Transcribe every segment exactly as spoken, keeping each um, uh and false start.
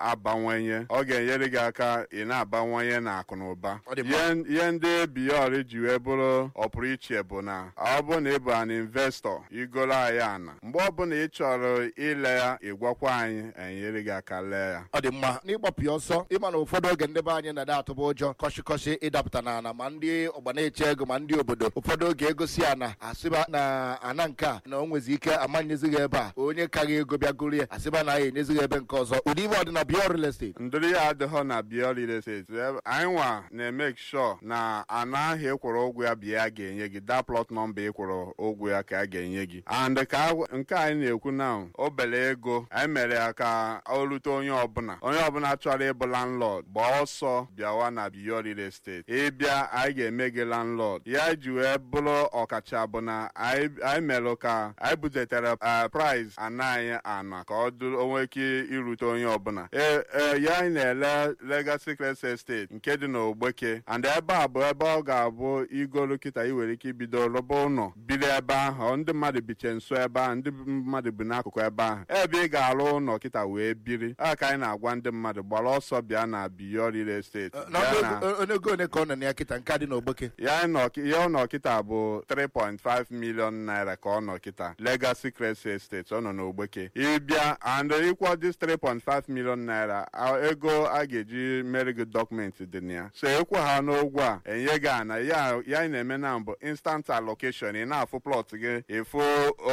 na-abawanye, ọ ga-enyere gị aka ị na-abawanye na akụ na ụba. Ọ dị mma. Ihe ihe ndị Beyond ji wee bụrụ ọpụrụ iche bụ na ọ bụ na ị bụ an investor, igolo anyị ana, mgbe ọbụla ị chọrọ ile ya, ịgwakwa anyị, enyere gị aka lee ya. Ọ dị mma. N'ịgbapụ ya ọsọ, ịma na ụfọdụ oge ndị be anyị na-ada atụba ụjọ kọshịkọshị ịdapụta n'ala, ma ndị ọgba na-eche ego, ma ndị obodo. Ụfọdụ oge egosi ana, asịba na ana nke a na o nwezi ike amanyezighị ebe a, onye kaghị ego bịa goro ya, asịba na ya enyezighị ebe nke ọzọ. Ụdị ibe ọdịna Beyond Real Estate? Ndụrụ ya adịghọ na Beyond Real Estate. Ebe- anyị nwa na-emeke sure na ana ahụ ịkwụrụ ụgwọ ya bụ ya ga-enye gị that plot number ịkwụrụ ụgwọ ya ka a ga-enye gị. And ka a- nke anyị na-ekwu now, obere ego anyị mere ya ka o rute onye ọbụla. Onye ọbụla chọrọ ịbụ landlord, gbaa ọsọ bịawa na Beyond Real Estate. Ịbịa, anyị ga-eme gị landlord. Ya ji wee bụrụ ọkacha bụ na anyị anyị mere ka anyị butetere eh, price ana anyị ana ka ọ dụrụ onwe ike irute onye ọbụla. Ee ee, ya anyị na-ele Legacy Crest Estate nke dị n'Ogbeke, and ebe a bụ ebe ọ ga-abụ igolu kịta, ị nwere ike ibido rụba ụlọ, biri ebe ahụ. Ndị mmadụ biche nso ebe ahụ, ndị mmadụ bi n'akụkụ ebe ahụ, ebe ị ga-arụ ụlọ kịta wee biri. A ka anyị na-agwa ndị mmadụ gbara ọsọ bịa na Beyond Real Estate. Na Bịa na- ọnụ ego one ka ọ nọ na ya kịta, nke a dị n'Ogbeke? Ya nọ, ya ọ nọ kịta bụ three point five million naira ka ọ nọ kịta. Legacy Crest Estate, ọ nọ n'Ogbeke. Ịbịa and ịkwọ this three point five million naira, a- ego a ga-eji mere gị document dị na ya. So ịkwụ ha n'ụgwọ a, enye gị ana ya. Ya anyị na-eme na mbụ instant allocation. Ị na-afụ plot gị, ịfụ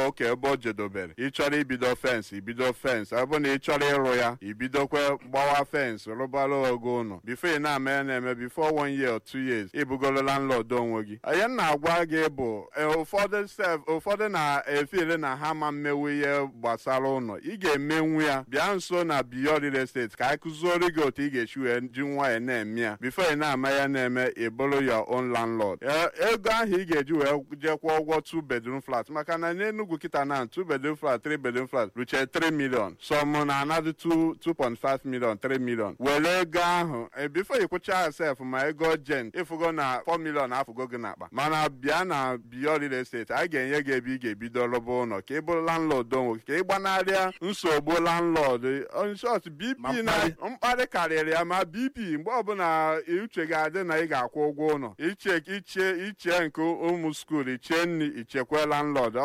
oke ebe o jedobere. Ị chọrọ ibido fence, ibido fence. Ọ bụ na ị chọrọ ịrụ ya, ibidokwe gbawa fence, rụbara ogo ụlọ. Before ị na-ama ya na-eme, before one year or two years, ịbụgolo landlord onwe gị. Ihe m na-agwa gị bụ eh, ụfọdụ sef, ụfọdụ na-efile na ha ma mmewu ihe gbasara ụlọ. Ị ga-emenwu ya. Bịa nso na Beyond Real Estate ka anyị kụziere gị otu ị ga-esi wee ji nwayọọ na-eme ya. Before ị na-ama ya na-eme, ị bụrụ your own landlord. Eh, ego ahụ ị ga-eji wee jekwa ụgwọ two bedroom flat, maka na n'Enugu kịta na two bedroom flat, three bedroom flat ruche three million, some na another two two point five million, three million. Were ego ahụ eh, before ị kwụcha sef ma ego agent, ịfụgo na four million afụgo gị n'akpa. Mana bịa na Beyond Real Estate, anyị ga-enye gị ebe ị ga-ebido rụba ụlọ ka ị bụrụ landlord onwe gị, ka ị gbanarịa nsogbu landlord. In short, B P Ma na mkparị. Mkparị karịrị ya, ma B P. Mgbe ọbụla uche ga-adị na ị ga-akwụ ụgwọ ụlọ, iche iche iche nke ụmụ school, iche nri, ichekwe landlord,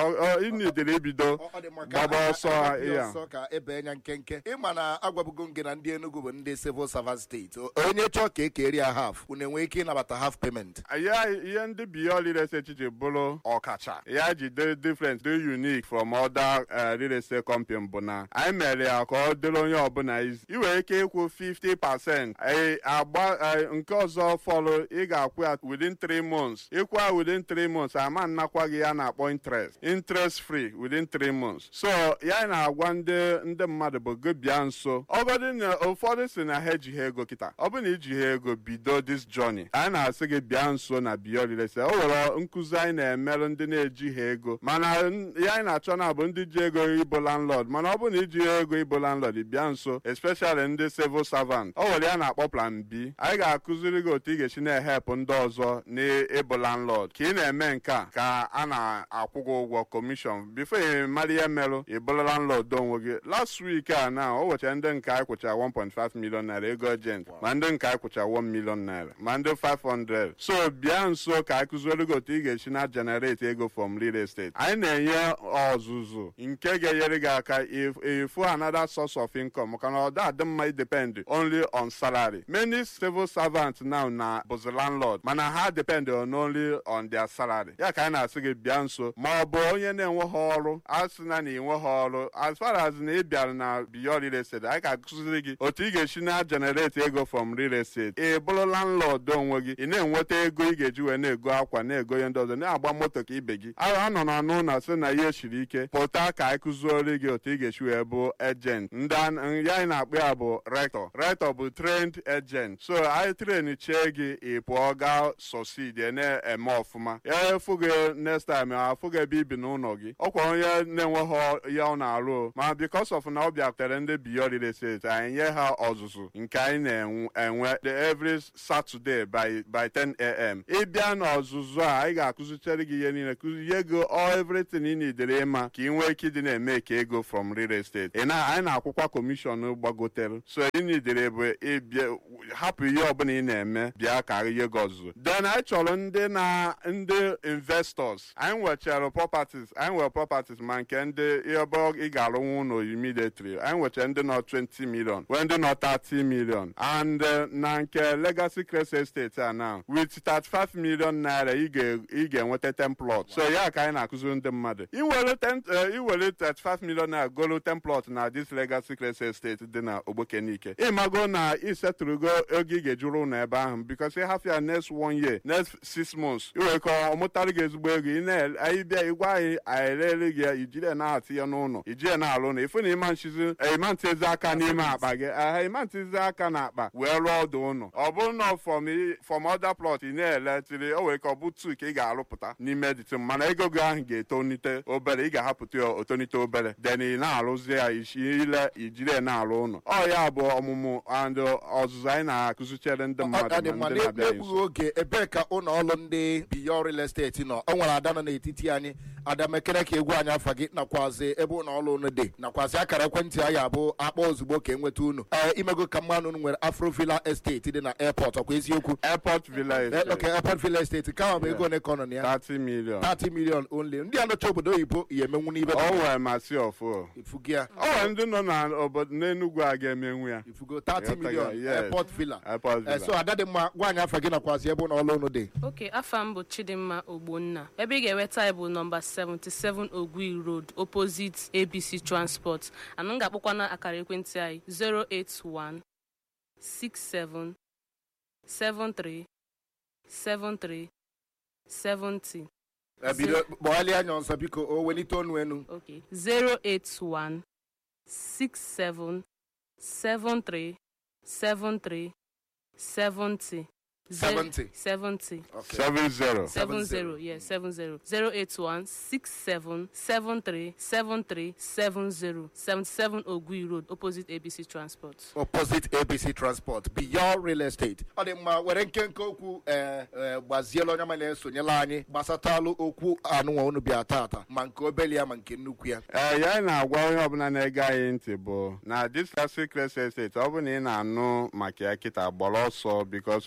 ịnidere ibido Ọ- ọ dị mma ka gbaba a- ọsọ. a- a- Ya ọsọ ka ebe anya nkenke. Ịma na agwabugo m gị na ndị Enugu bụ ndị civil servant steeti. Onye chọọ ka ekeri ya half, unu enwee ike ịnabata half payment? Ya ihe ndị Beyond Real Estate ji bụrụ ọkacha, ya ji dị different, dị unique from other eh, real estate company bụ na anyị mere ya ka ọ dịrị onye ọbụla easy. Ị nwere ike ịkwụ fifty percent, eh, agba eh, nke ọzọ fọlụ, ị ga-akwụ ya within three months. Ịkwụ ya within three months, ama nnakwa gị ya na-akpọ interest, interest free within three months. So ya na-agwa ndị ndị mmadụ bụ gị bịa nso. Ọ bụrụ na ụfọdụ si na ha ejighị ego kịta, ọ bụrụ na ijighị ego bido this journey, anyị na-asị gị bịa nso na Beyond Real Estate. O nwere nkụzi anyị na-emerụ ndị na-ejighị ego, mana n- ya anyị na-achọ na bụ ndị ji ego ịbụ landlord. Mana ọ bụrụ na ijighị ego ịbụ landlord, bịa nso, especially ndị civil servant. O nwere ya na-akpọ plan B. Anyị ga-akụziri gị otu ị ga-esi na-ehepụ ndị ọzọ n'ịbụ landlord. Ka ị na-eme nke a, ka a na-akwụ gị ụgwọ commission. Before ị mara ihe merụ, ị bụrụ landlord onwe gị. Last week a na o wechara ndị nke anyị kwụchara one point five million naira ego agent, ma ndị nke anyị kwụchara one million naira, ma ndị five hundred. So bịa nso ka anyị kụziere gị otu ị ga-esi na generate ego from real estate. Anyị na-enye ọzụzụ nke ga-enyere gị aka ifu another source of income, maka na ọ da adị mma depend only on salary. Many civil servants now na bụzi landlord, mana ha depend on only on their salary. Ya ka anyị na-asị gị bịa nso. Ma ọ bụ onye na-enweghị ọrụ, asị na na ịnweghị ọrụ, as far as na ị bịara na Beyond Real Estate, anyị ga-akụziri gị otu ị ga-esi na generate ego from real estate. Ị bụrụ landlord onwe gị, ị na-enweta ego ị ga-eji wee na-ego akwa, na-ego ihe ndị ọzọ, na-agba moto ka ibe gị. A nọ na n'ụlọ sị na ihe siri ike, pụta ka anyị kụziere gị otu ị ga-esi wee bụ agent. Ndị ya anyị na-akpọ ya bụ rector. Rector bụ trained agent. So anyị train chie gị, ị pụọ gaa succeed, na-eme ọfụma. Ya efu gị next time, afụ gị ebe ibi n'ụlọ gị. Ọkwa onye na-enweghị ya ọ na-arụ, ma because of na ọ bịakwutere ndị Beyond Real Estate, anyị nye ha ọzụzụ nke anyị na-enwe every Saturday by by ten a m. Ịbịa n'ọzụzụ a, anyị ga-akụzichere gị ihe niile, kụzie gị all everything ị nidere ịma ka ị nwee ike ịdị na-eme ka ego from real estate. Ị na anyị na-akwụkwa commission. gbagotere. So ị nidere bụ ịbịa hapụ ihe ọbụla ị na-eme, bịa ka ihe gị ọzụzụ. Then anyị chọrọ ndị na ndị investors. Anyị nwechara properties, anyị nwere properties ma nke ndị ebe ị ga-arụnwu ụlọ immediately. Anyị nwechara ndị nọ twenty million, nwee ndị nọ thirty million, and eh, na nke Legacy Crest Estate a now with thirty-five million naira ị ga- ị ga-enweta ten plot. So ya ka anyị na-akụziri ndị mmadụ, iwere ten eh, iwere thirty-five million naira golu ten plot na this Legacy Crest Estate dị na Ogbokenike, ịmago na isetụrụgo ego ị ga-ejuru ụlọ ebe ahụ, because ịhafụ ya next one year, next six months, iwere ka ọ mụtara gị ezigbo ego. Ị na anyị bịa ịgwa anyị, anyị erere gị ya, ijiri ya na-atị ya n'ụlọ, ijiri ya na-alụ ụlọ, ịfụ na ịma nchizi, ịma ntịzi aka n'ime akpa gị aha, ịma ntịzi aka n'akpa wee rụọ ọdụ ụlọ. Ọ bụrụ na from from other plot ị na-ele tiri, o nwere ka ọ bụ two ka ị ga-arụpụta n'ime dịtị, mana ego gị ahụ ga-etonite obere, ị ga-ahapụta ya otonite obere, then ị na-arụzi ya isi ile, ijiri ya na-arụ ụlọ. Ọ ya bụ ọmụmụ and ọzụzụ anyị na-akụzichere ndị Ọ mmadụ dị ma mma. ndị na-abịa N'egbughị nso. oge, ebee ka ụlọ ọrụ ndị Beyond Real Estate nọ? O nwere ada nọ n'etiti anyị. Ada mekere ka egwu anyị afa gị, nakwazi ebe ụlọ ọrụ unu dị, nakwazi akara ekwentị anyị abụ akpọ ozugbo ka enweta unu. Ee, imego ka mmanụ unu nwere Afro Villa Estate dị na airport, ọkwa eziokwu? Airport Villa Eh, Estate. Okay, Airport Villa Estate ka ọ bụ ego ole ka ọ nọ na ya? thirty million. thirty million only. Ndị anọcha obodo oyibo ya emenwu n'ibe. O nwere masị ọfụ. Ifugo ya. O nwere ndị nọ na obodo n'Enugwu a ga-emenwu ya. Ifugo thirty million. Yes. Airport Villa. Airport Eh, Villa. So ada dị mma, gwa anyị afa gị nakwazi ebe ụlọ ọrụ unu dị. Ok, afa m bụ Chidimma Ogbonna. Ebe ị ga-enweta anyị bụ nọmba seventy-seven Ogui Road, opposite A B C Transport. Anụ m ga-akpọkwa na akara ekwentị anyị zero eight one six seven seven three seven three seven zero. Eh, bido kpọghalịa anya ọzọ biko, o welite ọnụ enu. Ok, zero eight one six seven seven three seven three seven zero. seventy. seventy. Okay. seventy. Seven zero, yeah, seven zero. Zero eight one six seven seven three seven three seven zero. Seventy seven Ogui Road, opposite A B C Transport. Opposite A B C Transport, Beyond Real Estate. Ọ dị mma. Were nkenke okwu ee ee gbaziela onye ma na-esonyela anyị gbasatalụ okwu anụnwa unu bịa tata, ma nke obele ya ma nke nnukwu ya. Ee, ya anyị na-agwa onye ọbụla na-ege anyị ntị bụ na this Legacy Crest Estate, ọ bụrụ na ị na-anụ maka ya kịta, gbara ọsọ, because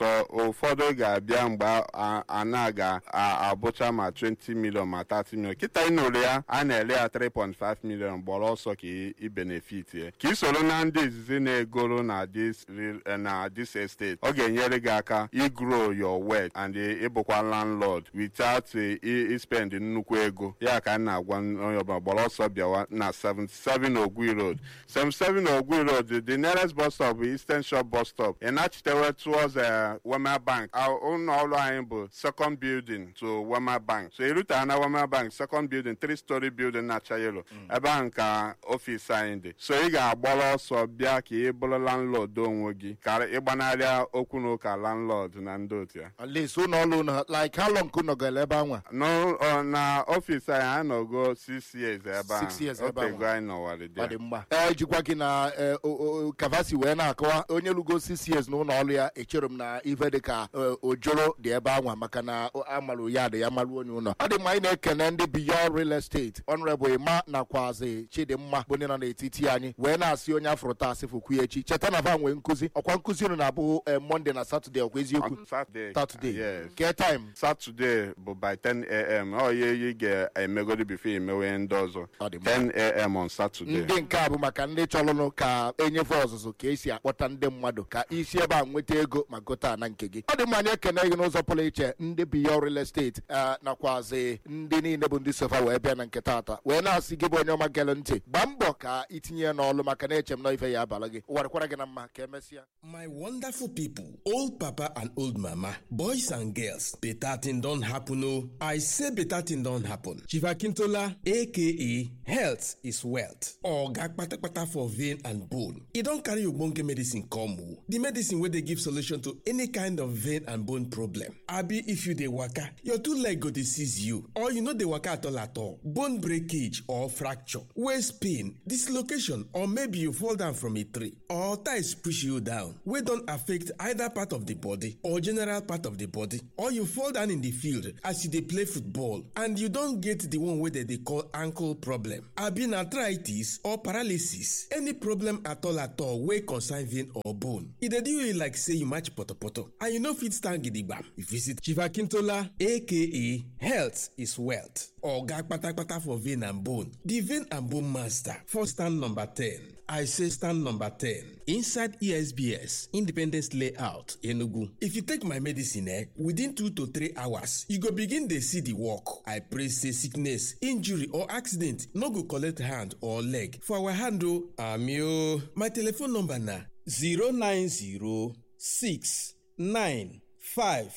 ụfọdụ ga-abịa mgbe a- a na ga-abụcha ma twenty million ma thirty million. Kịta ị nụrụ ya a na-ere ya three point five million, gbara ọsọ ka ị ị benefit ya, ka ị soro na ndị izizi na-egoro na this real- na this estate. Ọ ga-enyere gị aka igrow your wealth and ịbụkwa landlord without eh, i spend nnukwu ego. Ya ka m na-agwa onye ọbụla, gbara ọsọ bịawa na seventy-seven Ogui Road, seventy-seven Ogui Road. The nearest bus stop bụ Eastern Shore bus stop. Ị nachitewe towards eh, Wema Bank. Our ụlọ ọrụ anyị bụ second building to Wema Bank. So irute na Wema Bank, second building, three story building na-acha yellow, ebe ahụ ka ọfịs anyị dị. So ị ga-agbara ọsọ bịa ka ị bụrụ landlord onwe gị, ka ịgbanarịa okwu na ụka landlord na ndị otu ya. At least ụlọ ọrụ unu, like how long ka unu gara ebe anwa? N'ụ- ọ, na ọfịs anyị, anyị nọgo six years ebe ahụ. Six years ebe ahụ. Otego anyị nọwarị Ọ dị. dị mma. Ee, jikwa gị na eh, o- o- kavasi wee na-akọwa onye lugo six years n'ụlọ ọrụ ya, echere m na ife dị ka eh, ojoro dị ebe anwa, maka na o- amarụ ya dị ya marụ onye ụlọ. Ọ dị mma. Anyị na-ekene ndị Beyond Real Estate, Honorable Emma nakwazi Chidimma, bụ ndị nọ n'etiti anyị, wee na-asị onye afụrụ taa asị fụkwu ya echi. Cheta na va nwee nkụzi, ọkwa nkụzi unu na-abụ eh, Monday na Saturday, ọkwa eziokwu? Saturday. Saturday. Yes. Ke time? Saturday bụ by ten a m. Ọ ya ị ga-emegodi before imewe ndị ọzọ. Ọ dị mma. ten a m on Saturday. Ndị nke a bụ maka ndị chọrọnụ ka enyefe ọzụzụ ka esi akpọta ndị mmadụ ka isi ebe a nweta ego ma gote ana nke gị. Ọ dị mma. anyị ekene gị n'ụzọ pụrụ iche, ndị Beyond Real Estate, eh, nakwazi ndị niile bụ ndị sofa wee bịa na nke taata, wee na-asị gị bụ onye ọma gere ntị, gbaa mbọ ka itinye ya n'ọlụ, maka na eche m na ife ya abalị gị ụwa dịkwara gị na mma. Ka emesịa. My wonderful people, old papa and old mama, boys and girls, better thing don happen oh. I say better thing don happen. Chief Akintola, A K A Health is Wealth, Oga Kpatakpata for vein and bone. E don carry ogbonge medicine come oh. The medicine wey dey give solution to any kind of of vein and bone problem. Abi if you dey waka, your two leg go dey seize you or you no dey waka at all at all. Bone breakage or fracture, waist pain, dislocation or maybe you fall down from a tree or ties push you down wey don affect either part of the body or general part of the body or you fall down in the field as you dey play football and you don get the one wey dem dey call ankle problem. Abi na arthritis or paralysis, any problem at all at all wey concern vein or bone. E dey do you like say you match potopoto and you no fit stand gidigbam. You visit Chief Akintola aka Health is Wealth. Oga kpatakpata for vein and bone. The vein and bone master for stand number ten. I say stand number ten inside E S B S Independence Layout, Enugu. If you take my medicine eh, within two to three hours, you go begin dey see the work. I pray say sickness, injury or accident no go collect hand or leg for our hand o. Ami o. My telephone number na zero nine zero six nine five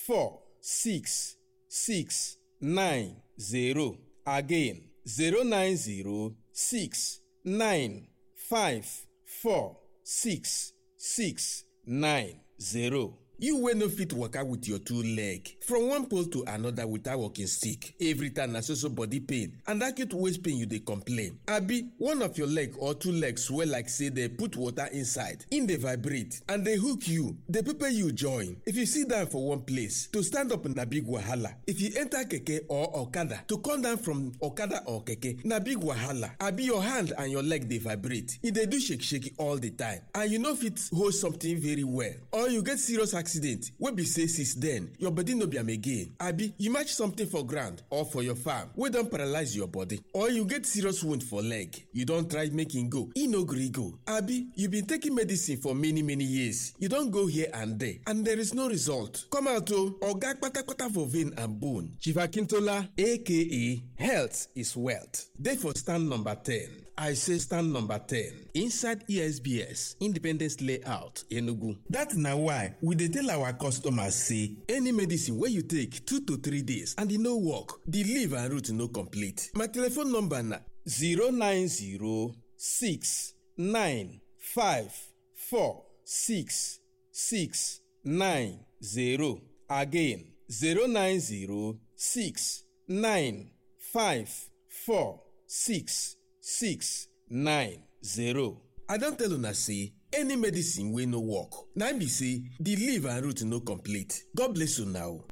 four six six nine zero. Again, zero nine zero six nine five four six six nine zero. You wey no fit waka with your two leg from one pole to another without walking stick. Every time na so so body pain and acute waist pain you dey complain. Abi one of your leg or two legs swell like say dey put water inside, e dey vibrate and dey hook you, dey pepper you join. If you sit down for one place, to stand up na big wahala. If you enter keke or okada, to come down from okada or keke na big wahala. Abi your hand and your leg dey vibrate, e dey do shake shake all the time and you no fit hold something very well or you get serious accident wey be say since then your body no be am again. Abi you match something for ground or for your farm wey don paralyze your body or you get serious wound for leg, you don try make e go, e no gree go. Abi you been taking medicine for many many years, you don go here and there and there is no result. Come out o, oga kpatakpata for vein and bone. Chief Akintola aka Health is Wealth dey for stand number ten. I say stand number ten inside E S B S Independence Layout, Enugu. That na why we dey tell our customers say any medicine wey you take two to three days and e no work, the leaf and root no complete. My telephone number na zero nine zero six nine five four six six nine zero. Again, zero nine zero six nine five four six six nine zero. I don tell una say any medicine wey no work na im be say the leaf and root no complete. God bless una o.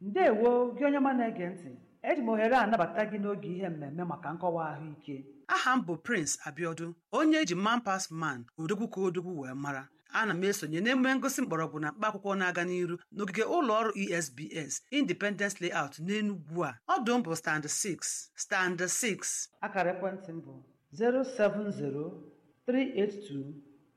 Ndewo gị onye ọma na-ege ntị. Eji m ohere a anabata gị n'oge ihe mmemme maka nkọwa ahụike. Aha m bụ Prince Abiodun, onye eji Man Pass Man, odogwu ka odogwu wee mara. Ana m esonye n'emume ngosi mgbọrọgwụ na mkpa akwụkwọ na-aga n'iru n'ogige ụlọ ọrụ E S B S Independence Layout n'Enugwu a. Ọdụ m bụ stand six, stand six. Akara ekwentị m bụ efu asaa efu, atọ asatọ abụọ, isii otu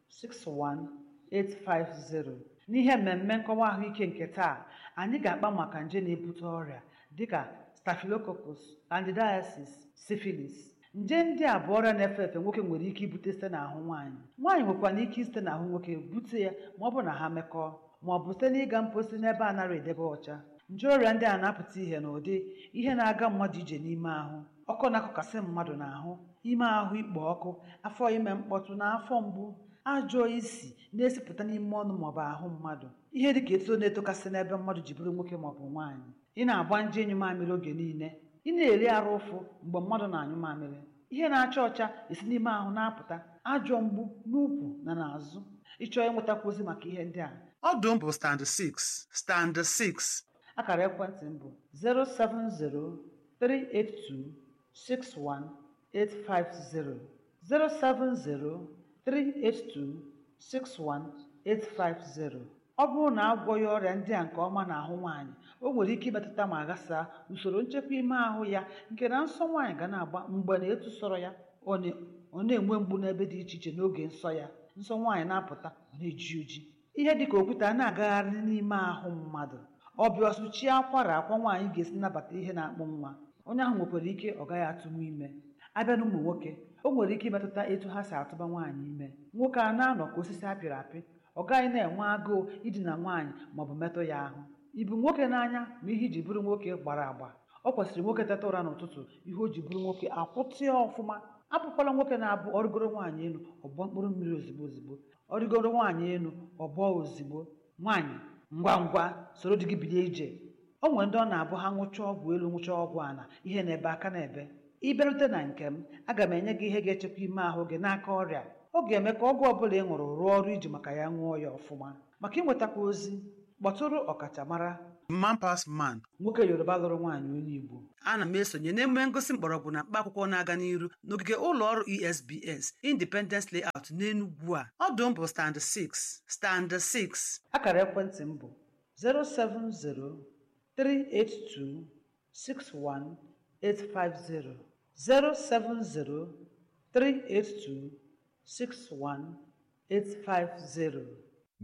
asatọ ise efu. N'ihe mmemme nkọwa ahụike nke taa, anyị ga-akpa maka nje na-ebute ọrịa dịka staphylococcus, candidiasis, syphilis. Nje ndị a bụ ọrịa na-efe efe nwoke nwere ike ibute site n'ahụ nwaanyị. Nwaanyị nwekwara ike site n'ahụ nwoke bute ya ma ọ bụ na ha mekọọ ma ọ bụ site n'ịga mposi n'ebe a nara edebe ọcha. Nje ọrịa ndị a na-apụta ihe n'ụdị ihe na-aga mmadụ ije n'ime ahụ, ọkụ na-akụkasị mmadụ n'ahụ, ime ahụ ikpo ọkụ, afọ ime mkpọtụ na afọ mgbu, ajọ isi na-esipụta n'ime ọnụ maọbụ ahụ mmadụ, ihe dịka eto na-etokasị n'ebe mmadụ ji bụrụ nwoke maọbụ nwaanyị, ị na-agba nje enyi mamịrị oge niile, ị na-eri arụ ụfụ mgbe mmadụ na-anyụ mamịrị, ihe na-acha ọcha esi n'ime ahụ na-apụta, ajọ mgbu n'ukwu na n'azụ. Ịchọọ ịnwetakwu ozi maka ihe ndị a, Ọdụ m bụ stand six, stand six. Akara ekwentị m bụ efu asaa efu, atọ asatọ abụọ, isii otu asatọ ise efu, efu asaa efu, atọ asatọ abụọ, isii otu asatọ ise efu. Ọ bụrụ na agwọghị ọrịa ndị a nke ọma n'ahụ nwaanyị, o nwere ike imetụta ma ghasaa usoro nchekwa ime ahụ ya nke na nsọ nwaanyị ga na-agba mgbe na etu sọrọ ya, ọ na- ọ na-enwe mgbu n'ebe dị iche iche n'oge nsọ ya, nsọ nwaanyị na-apụta ọ na-eji oji, ihe dịka okwute a na-agagharị n'ime ahụ mmadụ, ọbịa ọsụchie akwara akwa nwaanyị ga-esi nabata ihe na-akpụ nwa. Onye ahụ nwekwara ike ọ gaghị atụnwu ime. Abịa n'ụmụ nwoke, o nwere ike imetụta etu ha si atụba nwaanyị ime. Nwoke a na-anọ ka osisi apịrị apị, ọ gaghị na-enwe agụụ idina nwaanyị maọbụ metụ ya ahụ. Ibu nwoke n'anya ma ihe iji bụrụ nwoke gbara agba, ọ kwesịrị nwoke teta ụra n'ụtụtụ, ihe o ji bụrụ nwoke akwụtịa ọfụma. Abụkwala nwoke na-abụ ọrịgoro nwaanyị elu ọgbọ mkpụrụ mmiri ozigbo ozigbo, ọrịgoro nwaanyị elu ọgbọ ozigbo. Nwaanyị ngwa ngwa soro di gị bilie ije. O nwere ndị ọ na-abụ ha ṅụchaa ọgwụ elu ṅụchaa ọgwụ ala, ihe na-ebe aka na-ebe. Ị bịarute na nke m, aga m enye gị ihe ga-echekwa ime ahụ gị n'aka ọrịa. Ọ ga-eme ka ọgwụ ọbụla ị ṅụrụ rụọ ọrụ iji maka ya ṅụọ ya ọfụma. Maka ịnwetakwa ozi, kpọtụrụ ọkachamara Man Pass Man, nwoke Yoruba lụrụ nwaanyị onye Igbo. Ana m esonye n'emume ngosi mgbọrọgwụ na mkpa akwụkwọ na-aga n'iru n'ogige ụlọ ọrụ E S B S Independence Layout n'Enugwu a. Ọdụ m bụ stand six, stand six. Akara ekwentị m bụ zero seven zero three eight two six one eight five zero, zero seven zero three eight two six one eight five zero.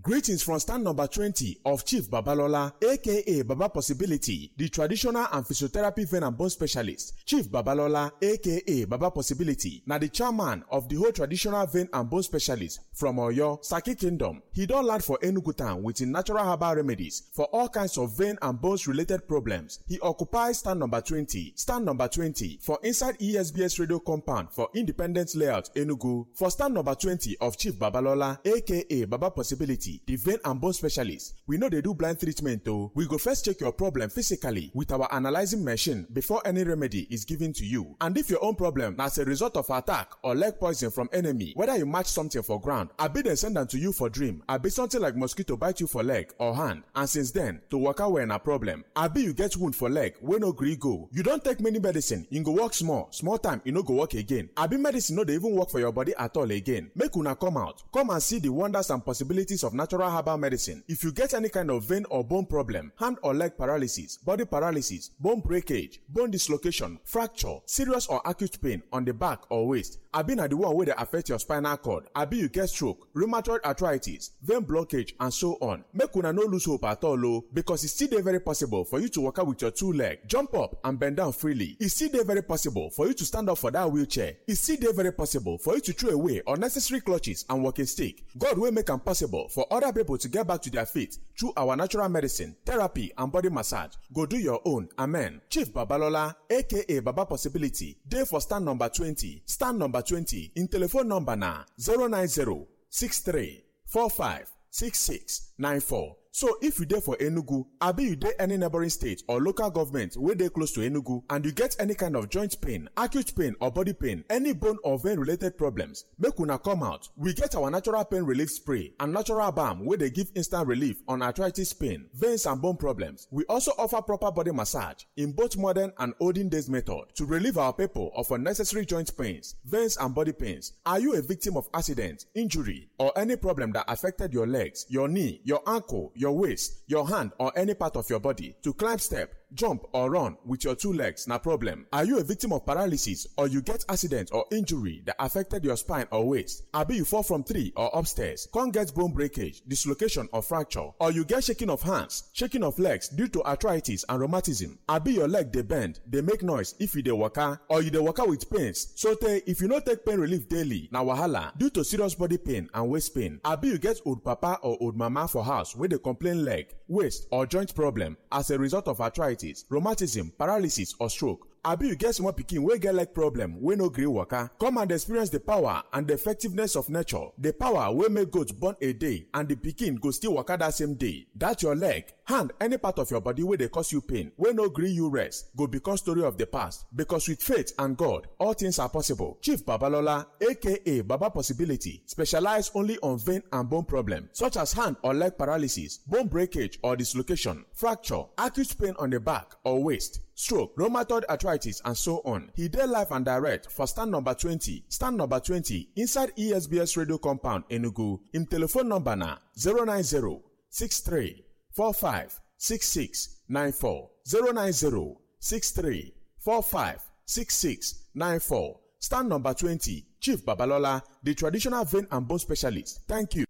Greetings from stand number twenty of Chief Babalola, aka Baba Possibility, the traditional and physiotherapy vein and bone specialist. Chief Babalola, aka Baba Possibility, na the chairman of the whole traditional vein and bone specialist from Oyo, Saki Kingdom. He don land for Enugu town with him natural herbal remedies for all kinds of vein and bones related problems. He occupies stand number twenty, stand number twenty for inside E S B S radio compound for Independence Layout, Enugu. For stand number twenty of Chief Babalola, aka Baba Possibility, the vein and bone specialist, we know they do blind treatment though. We go first check your problem physically with our analyzing machine before any remedy is given to you. And if your own problem as a result of attack or leg poison from enemy, whether you match something for ground, I be then send them to you for dream, I be something like mosquito bite you for leg or hand, and since then, to work out when a problem. I be you get wound for leg, when no gree go. You don't take many medicine, you go work small, small time, you no go work again. I be medicine no they even work for your body at all again. Make una come out, come and see the wonders and possibilities of natural herbal medicine. If you get any kind of vein or bone problem, hand or leg paralysis, body paralysis, bone breakage, bone dislocation, fracture, serious or acute pain on the back or waist, abi na the one wey dey affect your spinal cord, abi you get stroke, rheumatoid arthritis, vein blockage, and so on. Make una no lose hope at all o, because e still dey very possible for you to waka with your two leg, jump up and bend down freely. E still dey very possible for you to stand up for that wheelchair. E still dey very possible for you to throw away unnecessary clutches and walking stick. God wey make am possible for other people to get back to their feet through our natural medicine, therapy, and body massage. Go do your own. Amen. Chief Babalola, aka Baba Possibility, dey for stand number twenty. Stand number twenty. In telephone number na zero nine zero six three four five six six nine four. So if you dey for Enugu, abi you dey any neighboring state or local government wey dey close to Enugu and you get any kind of joint pain, acute pain or body pain, any bone or vein related problems, make una come out. We get our natural pain relief spray and natural balm wey dey give instant relief on arthritis pain, veins and bone problems. We also offer proper body massage in both modern and olden days method to relieve our people of unnecessary joint pains, veins and body pains. Are you a victim of accident, injury or any problem that affected your legs, your knee, your ankle, your waist, your hand, or any part of your body? To climb step, jump or run with your two legs na problem. Are you a victim of paralysis or you get accident or injury that affected your spine or waist? Abi you fall from tree or upstairs, come get bone breakage, dislocation or fracture, or you get shaking of hands, shaking of legs due to arthritis and rheumatism. Abi your leg dey bend, dey make noise if you dey waka, or you dey waka with pains. So tey if you no take pain relief daily, na wahala due to serious body pain and waist pain. Abi you get old papa or old mama for house wey dey complain leg, waist or joint problem as a result of arthritis, rheumatism, paralysis or stroke. Abi you get small pikin wey get leg problem wey no gree waka. Come and experience the power and the effectiveness of nature. The power wey make goat born a day and the pikin go still waka that same day. That your leg, hand, any part of your body wey dey cause you pain, wey no gree you rest, go become story of the past. Because with faith and God, all things are possible. Chief Babalola, aka Baba Possibility, specialize only on vein and bone problem such as hand or leg paralysis, bone breakage or dislocation, fracture, acute pain on the back or waist, stroke, rheumatoid arthritis, and so on. He dey live and direct for stand number twenty, stand number twenty inside E S B S radio compound, Enugu. Him telephone number na zero nine zero six three four five six six nine four, zero nine zero six three four five six six nine four. Stand number twenty, Chief Babalola, the traditional vein and bone specialist. Thank you.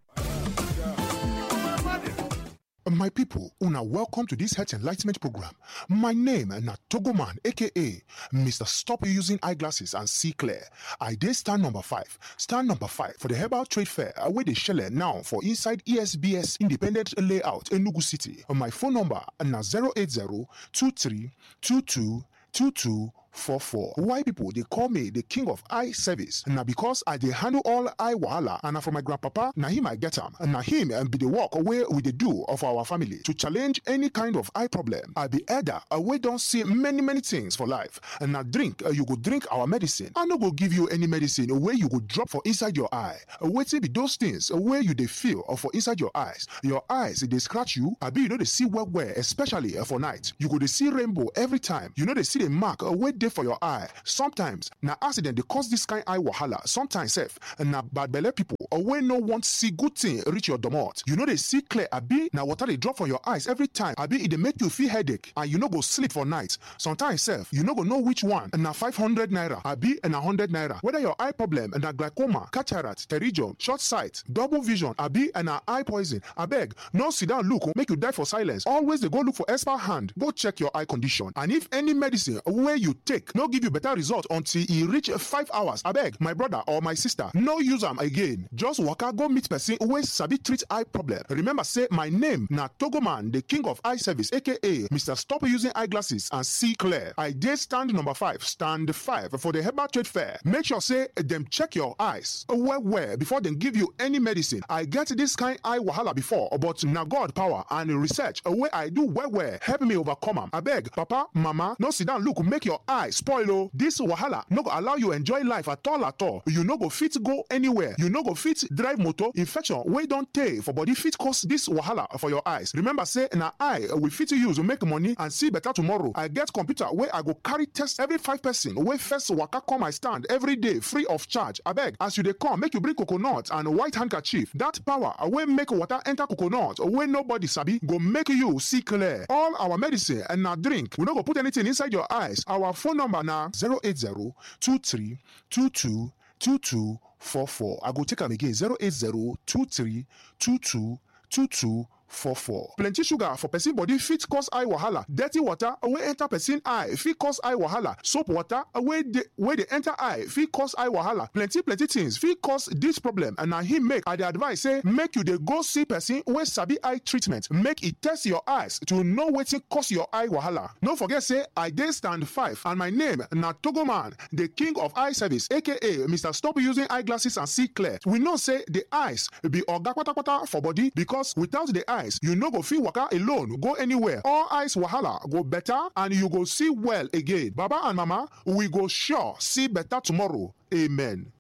My people, una welcome to this health enlightenment program. My name na Togoman, aka Mister Stop Using Eyeglasses and See Clear. I dey stand number five. Stand number five for the Herbal Trade Fair wey dey shele now for inside E S B S Independent Layout, Enugu City. My phone number na zero eight zero two three two two two two four four. Why people dey call me the king of eye service? Na because I dey handle all eye wahala and na from my grandpapa na him I get am. Na him um, be the work wey we dey do of our family to challenge any kind of eye problem. I be elder uh, wey don see many many things for life. And na drink uh, you go drink our medicine. I no go give you any medicine wey you go drop for inside your eye. Wetin be those things wey you dey feel or for inside your eyes? Your eyes dey scratch you, abi you no dey see well well, especially uh, for night. You go dey see rainbow every time. You no dey see the mark uh, wey dey for your eye. Sometimes na accident dey cause this kind eye wahala. Sometimes sef na bad belle people uh, wey no want see good thing reach your domot. You no dey see clear, abi na water dey drop from your eyes every time, abi e dey make you feel headache and you no go sleep for night. Sometimes sef you no go know which one na five hundred naira abi na hundred naira. Whether your eye problem na glaucoma, cataract, pterygium, short sight, double vision, abi na eye poison, abeg no sit down look make you die for silence. Always dey go look for expert hand go check your eye condition. And if any medicine wey you take no give you better result until e reach five hours, abeg my brother or my sister no use am again. Just waka go meet person wey sabi treat eye problem. Remember say my name na Togoman, the king of eye service, aka Mr. Stop Using Eyeglasses and See Clear. I dey stand number five, stand five for the Herbal Trade Fair. Make sure say dem check your eyes well well before dem give you any medicine. I get this kind eye wahala before, but na God power and research wey I do well well help me overcome am. Abeg, papa, mama, no sit down look make your eye spoil o. This wahala no go allow you enjoy life at all at all. You no go fit go anywhere. You no go fit drive motor. Infection wey don tey for body fit cause this wahala for your eyes. Remember say na eye we fit use make money and see better tomorrow. I get computer wey I go carry test every five person wey first waka come my stand every day free of charge. Abeg, as you dey come, make you bring coconut and white handkerchief. That power wey make water enter coconut wey nobody sabi go make you see clear. All our medicine and na drink. We no go put anything inside your eyes. Our phone number na zero eight zero two three two two two two four four. I go take am again zero eight zero two three two two two two four four. Plenty sugar for person body fit cause eye wahala. Dirty water wey enter person eye fit cause eye wahala. Soap water wey dey wey dey enter eye fit cause eye wahala. Plenty plenty things fit cause this problem, and na him make I dey advise say make you dey go see person wey sabi eye treatment. Make e test your eyes to know wetin cause your eye wahala. No forget say I dey stand five and my name na Togoman, the king of eye service, aka Mr. Stop Using Eyeglasses and See Clear. We know say the eyes be oga kpatakpata for body, because without the eyes you no go fit waka alone go anywhere. All eyes wahala go better and you go see well again. Baba and mama, we go sure see better tomorrow. Amen.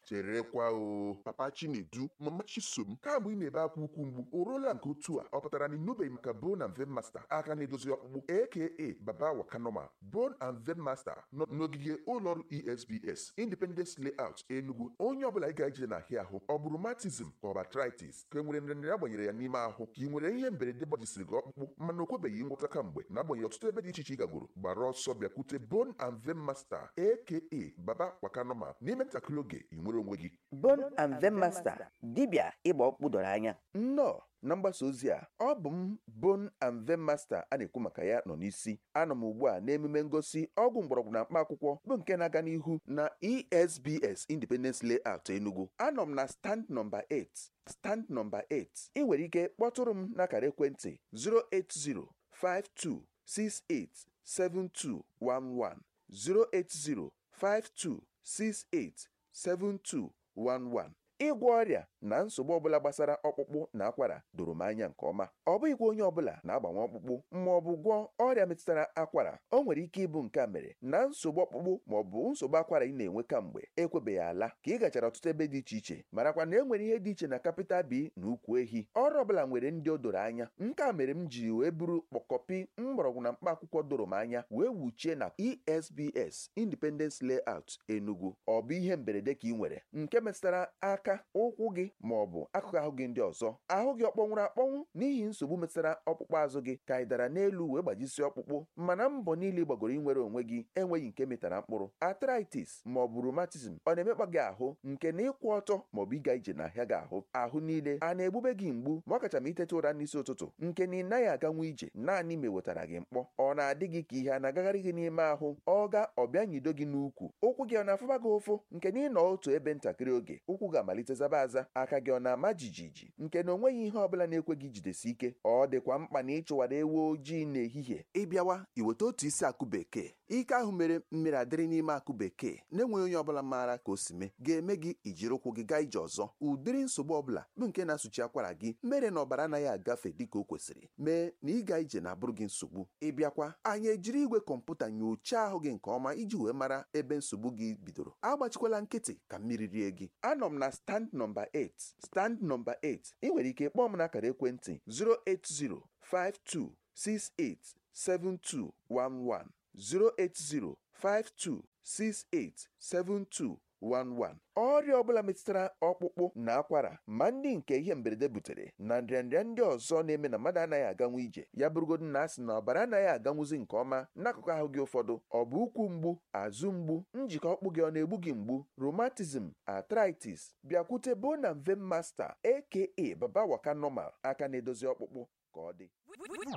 Cherekwa o, papa Chinedu, mama Chisom, kamgbe ị na-ebe akwa ukwu mgbu o ruola nke otu a, ọ pụtara na ịnụbeghị maka Bone and Vein Master, aka na-edozi ọkpụkpụ, aka Baba Wakanoma. Bone and Vein Master nọ n'ogige ụlọọrụ E S B S, Independence Layout, Enugu. Onye ọbụla ị ga-eje n'ahịa ahụ, ọ bụ rheumatism ka ọ bụ arthritis, ka e nwere nrịnrịa agbanyere ya n'ime ahụ, ka ị nwere ihe mberede gbajisiri gị ọkpụkpụ mana o kwebeghị ngwọta kamgbe, n'agbanyeghị ọtụtụ ebe dị iche iche ị gagoro, gbara ọsọ bịakwute Bone and Vein Master, aka Baba Wakanoma. N'ime ntakịrị oge ị nwere onwe gị. Bone and Vein Master, dibịa ịgba ọkpụkpụ dọrọ anya nnọọ na mgbasa ozi a. Ọ bụ m Bone and Vein Master a na-ekwu maka ya nọ n'isi. Anọ m ugbu a n'emume ngosi ọgwụ mgbọrọgwụ na mkpa akwụkwọ bụ nke na-aga n'ihu na E S B S, Independence Layout, Enugu. Anọ m na stand nọmba asatọ, stand nọmba asatọ. Ị nwere ike kpọtụrụ m n'akara ekwentị efu asatọ efu ise two six eight seven two one one, efu asatọ efu ise two six eight seven two one one. Ịgwọ ọrịa na nsogbu ọbụla gbasara ọkpụkpụ na akwara doro m anya nke ọma. Ọ bụghịkwa onye ọbụla na-agbanwe ọkpụkpụ ma ọ bụ gwọọ ọrịa metụtara akwara. O nwere ike ịbụ nke a mere na nsogbu ọkpụkpụ ma ọ bụ nsogbu akwara ị na-enwe kamgbe ekwebeghị ala, ka ị gachara ọtụtụ ebe dị iche iche. Marakwa na e nwere ihe dị iche na capital B na ukwu ehi. Ọrụ ọbụla nwere ndị o doro anya. Nke a mere m ji wee buru kpọkọpi mgbọrọgwụ na mkpa akwụkwọ doro m anya wee wuchie na E S B S, Independence Layout, Enugu. Ọ bụ ihe mberede ka ị nwere nke metụtara aka, ụkwụ gị ma ọ bụ akụkụ ahụ gị ndị ọzọ, ahụ gị ọ kpọnwụrụ akpọnwụ n'ihi nsogbu metụtara ọkpụkpụ azụ gị, ka ị dara n'elu wee gbajisie ọkpụkpụ mana mbọ niile gbagoro inwere onwe gị enweghị nke metara mkpụrụ, arthritis ma ọ bụ rheumatism ọ na-emekpa gị ahụ nke na ịkwụ ọtọ ma ọ bụ ịga ije n'ahịa gị ahụ, ahụ niile a na-egbube gị mgbu, ma ọ kacha ma iteta ụra n'isi ụtụtụ nke na ị naghị aganwu ije naanị ma ewetara gị mkpọ, ọ na-adị gị ka ihe a na-agagharị gị n'ime ahụ, ọ ga ọbịa nyido gị n'ukwu, ụkwụ gị ọ na-afụba gị ụfụ nke na ịnọ otu ebe ntakịrị oge ụkwụ ga-amalite malite zaba aza, aka gị ọ na-ama jijiji nke na onweghị ihe ọbụla na-ekwe gị jidesi ike. Ọ dịkwa mkpa na ịchụwara ewu ojii n'ehihie. Ịbịawa iweta otu isi akụ bekee, ike ahụ mere mmiri adịrị n'ime akụ bekee na-enweghị onye ọbụla maara ka o si mee, ga-eme gị ijiri ụkwụ gị gaa ije ọzọ. Ụdịrị nsogbu ọbụla bụ nke na-asụchi akwara gị mere na ọbara anaghị agafe dịka o kwesịrị, mee na ịga ije na-abụrụ gị nsogbu. Ịbịakwa anyị ejiri igwe kọmputa nyochaa ahụ gị nke ọma iji wee mara ebe nsogbu gị bidoro. Agbachikwala nkịtị ka mmiri rie gị. Anọ m na stand nọmba eight, stand nọmba eight. Ị nwere ike kpọọ m n'akara ekwentị zero eight zero five two six eight seven two one one, zero eight zero five two six eight seven two one one. Ọrịa ọbụla metụtara ọkpụkpụ na akwara, ma ndị nke ihe mberede butere na nrịanrịa ndị ọzọ na-eme na mmadụ anaghị aganwu ije, ya bụrụgodu na asị na ọbara anaghị aganwuzi nke ọma n'akụkụ ahụ gị ụfọdụ, ọ bụ ụkwụ mgbu, azụ mgbu, njikọ ọkpụ gị ọ na-egbu gị mgbu, rheumatism, arthritis, bịakwute Bone and Vein Master aka Baba Waka Normal, aka na-edozi ọkpụkpụ ka ọ dị.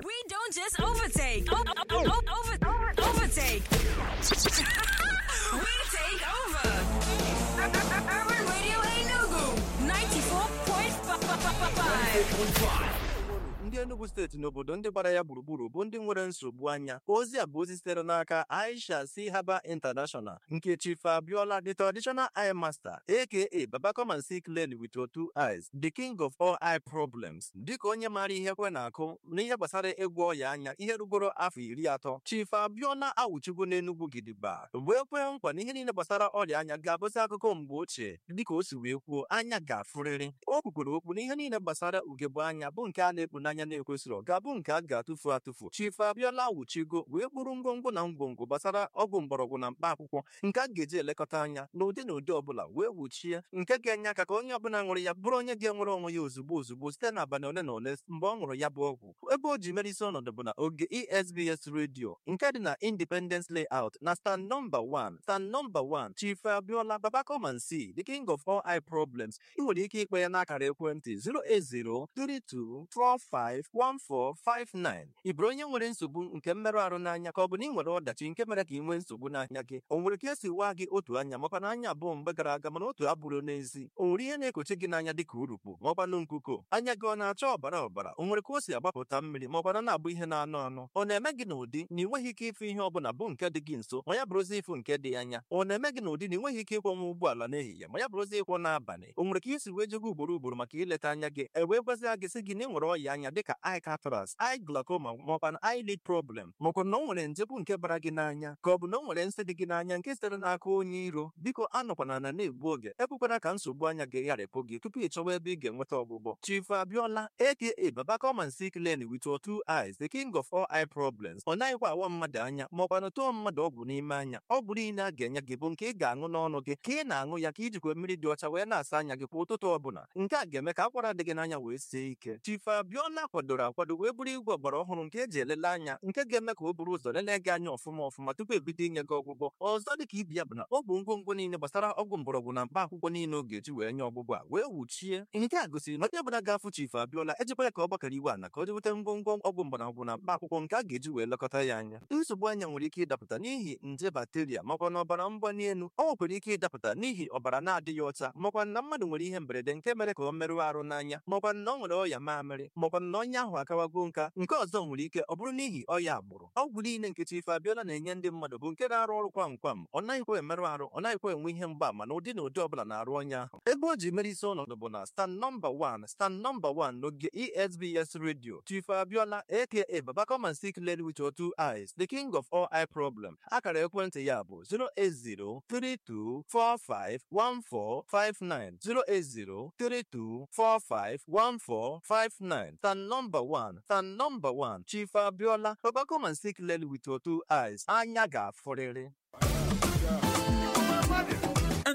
We don't just overtake. O- o- o- over, overtake. We take over. Urban Radio Enugu ninety-four point five. Ndị Enugu steeti na obodo ndị gbara ya gburugburu bụ ndị nwere nsogbu anya. Ozi a bụ ozi sitere n'aka Aisha C. Haba International nke Chief Abiola, the traditional eye master, aka Baba come and see clearly with your two eyes, the king of all eye problems. Dịka onye maara ihe kwe na-akụ n'ihe gbasara ịgwọ ọya anya ihe rugoro afọ iri atọ, Chief Abiola awụchigo n'Enugu gidigba wee kwee nkwa na ihe niile gbasara ọrịa anya ga-abụzi akụkọ mgbe ochie. Dịka o si wee kwuo, anya ga-afụrịrị. O kwukwuru okwu na ihe niile gbasara ugegbe anya bụ nke a na-ekpu n'anya na-ekwesịrị ga-abụ nke a ga-atụfu atụfu. Chief Abiola awụchigo wee kpụrụ ngwongwo na ngwongwo gbasara ọgwụ mgbọrọgwụ na mkpa akwụkwọ nke a ga-eji elekọta anya n'ụdị na ụdị ọbụla wee wuchie, nke ga-enye aka ka onye ọbụla ṅụrụ ya bụrụ onye ga-enwere onwe ya ozugbo ozugbo site n'abalị ole na ole mgbe ọ ṅụrụ ya bụ ọgwụ. Ebe o ji mere isi ọnọdụ bụ na oge E S B S Radio nke dị na Independence Layout na stand nọmba one, stand nọmba one. Chief Abiola, Baba come and see, the king of all eye problems. Ị nwere ike ikpe ya n'akara ekwentị zero eight zero three two four five one four five nine. Ị bụrụ onye nwere nsogbu nke mmerụ ahụ n'anya, ka ọ bụ na ị nwere ọdachi nke mere ka ị nwee nsogbu n'anya gị, o nwere ka esi waa gị otu anya makwa na anya abụọ mgbe gara aga mana otu abụrụ n'ezi, o nwere ihe na-ekochi gị n'anya dịka urukpu maọkwanụ nkuko, anya gị ọ na-acha ọbara ọbara, o nwere ka o si agbapụta mmiri maọkwanụ na-abụ ihe na-anụ anụ, ọ na-eme gị n'ụdị na ị nweghị ike ịfụ ihe ọbụla bụ nke dị gị nso ma ya bụrụzi ịfụ nke dị anya, ọ na-eme gị n'ụdị na ị nweghị ike ịkwọnwa ụgbọala n'ehihie ma ya bụrụzi ịkwọ n'abalị, o nwere ka isi wee jego ugboro ugboro maka ileta anya gị, e wee gwazie gị sị gị na ị nwere ọya anya dịka eye cataracts, eye glaucoma maọkwa na eyelid problem, maọkwa na o nwere nje bụ nke bara gị n'anya, ka ọ bụ na o nwere nsị dị gị n'anya nke sitere n'aka onye iro. Biko anọkwana na na-egbu oge, ekwekwana ka nsogbu anya gị gharịpụ gị tupu ị chọwa ebe ị ga-enweta ọgwụgwọ. Chief Abiola aka Baba come and see clearly with your two eyes, the king of all eye problems. Ọ naghịkwa awa mmadụ anya maọkwa na tụọ mmadụ ọgwụ n'ime anya. Ọgwụ niile a ga-enye gị bụ nke ị ga-aṅụ n'ọnụ gị, ka ị na-aṅụ ya ka ijikwa mmiri dị ọcha wee na-asa anya gị kwa ụtụtụ ọbụla. Nke a ga-eme ka akwara dị gị n'anya wee sie ike. Chief Abiola kwadoro akwado wee bụrụ igwe ọgbara ọhụrụ nke eji elele anya, nke ga-eme ka o buru ụzọ lelee gị anya ọfụma ọfụma tupu ebido inye gị ọgwụgwọ. Ọzọ dịka ibi ya bụ na ọ bụ ngwongwo niile gbasara ọgwụ mgbọrọgwụ na mkpa akwụkwọ niile ọ ga-eji wee nye ọgwụgwọ a wee wuchie. Nke a gosiri na onye ọbụla ga-afụ Chief Abiola ejikwa ya ka ọ gbakọrọ iwe ala ka o jeweta ngwongwo ọgwụ mgbọrọgwụ na mkpa akwụkwọ nke a ga-eji wee lekọta ya anya. Nsogbu anya nwere ike ịdapụta n'ihi nje bakteria makwa na ọbara mgbali elu. Ọ nwekwara ike ịdapụta n'ihi ọbara na-adịghị ọcha, makwa na mmadụ nwere ihe mberede nke mere ka ọ merụọ arụ n'anya, makwa na ọ nwere ọya mamịrị, makwa na ọnya ahụ akawago nka. Nke ọzọ nwere ike ọ bụrụ n'ihi ọya agbụrụ. Ọgwụ niile nke Chief Abiola na-enye ndị mmadụ bụ nke na-arụ ọrụ kwam kwam. Ọ naghịkwa emerụ arụ, ọ naghịkwa enwe ihe mgbaama na ụdị na ụdị ọbụla na-arụ ọnya ahụ. Ebe o ji mere isi ọnọdụ bụ na stand nọmba one, stand nọmba one n'oge E S B S Radio. Chief Abiola aka Baba come and see clearly with your two eyes, the king of all eye problem. Akara ekwentị ya bụ zero eight zero three two four five one four five nine, zero eight zero three two four five one four five nine. Stand number one, stand number one. Chief Abiola, Baba come and see clearly with your two eyes. Anya ga-afụrịrị.